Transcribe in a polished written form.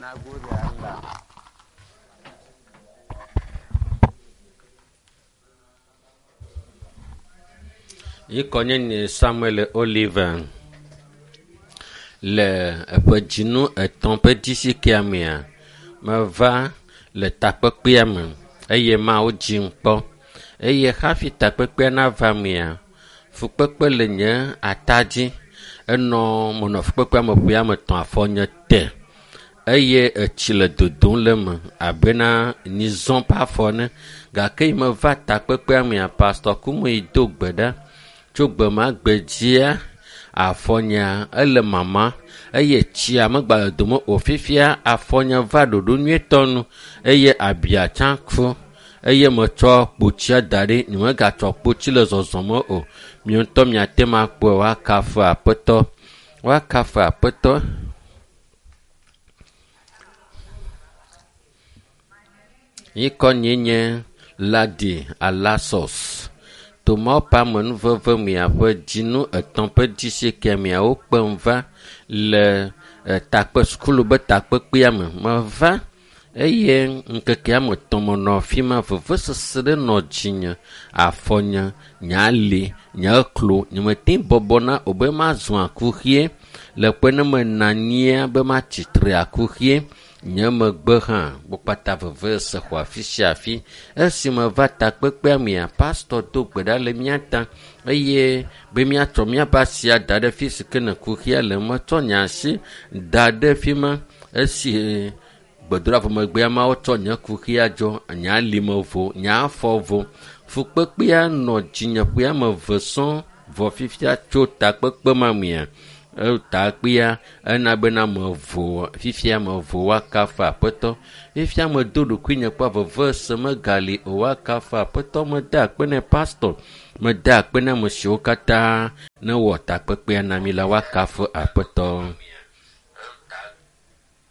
Na gode Allah. Ŋkɔ nye Samuel Oliver le eƒe dzinu etɔ̃ ƒe disikea mea, meva le takpekpea me eye Mawu dzim kpɔ eye hafi takpekpea nava mea, fukpekpe le nye ata dzi. Enɔ menɔ fukpekpea me ƒe ame etɔ̃ afɔ nye te eye etsi le dodom le eme abena nyizɔ ƒe afɔ ene gake yi meva takpekpea mea, Pastor Kumuyi do gbe ɖa tso gbe ma gbe dzia afɔnyea ele mama eye tsia megba le dome o fifia afɔnye va ɖoɖo nyuietɔ nu eye abia tsã ku eye metsɔ kpotsia da ɖi nyemegatsɔ kpotsi le zɔzɔme o. Miwo ŋutɔ miate ŋu akpɔe woakafu aƒetɔ woakafu aƒetɔ. Ŋkɔ nye nye Ladi Alasos. Tomawo ƒe amenuveve miaƒe dzinu etɔ̃ ƒe dzisi miawo kpem va le takpe sukulu be takpekpea me. Meva eye ŋkeke ame etɔ̃ menɔ afi ma vevesese ɖe nɔ dzinye, afɔnye, nye ali, nye klo. Nyemete ŋu bɔbɔna o be mazɔ akuxie le kpe ne menɔ anyia be matsitre akuxie. Nye megbe hã wo kpata vevesese xɔ afi sia afi. Esi meva takpekpea mea, pastor do gbe ɖa le mía ta eye be míatsɔ míaƒe asia da ɖe fi si ke ne kuxia le. Metsɔ nye asi da ɖe fi ma esi gbedoɖa vɔ megbea Mawu tsɔ nye kuxia dzɔ, nye alime vo, nye afɔ vo. Fukpekpea nɔ dzinye ƒe ame eve sɔŋ vɔ fifia tso takpekpe ma mea, takpea ena bena mevo fifia mevo woakafu aƒetɔ. Fifia medo ɖokuinye kpɔ vevesese megali o woakafu aƒetɔ. Mede akpe ne pastor, mede akpe na ame siwo katã ne wɔ takpekpea na mi la woakafu aƒetɔ.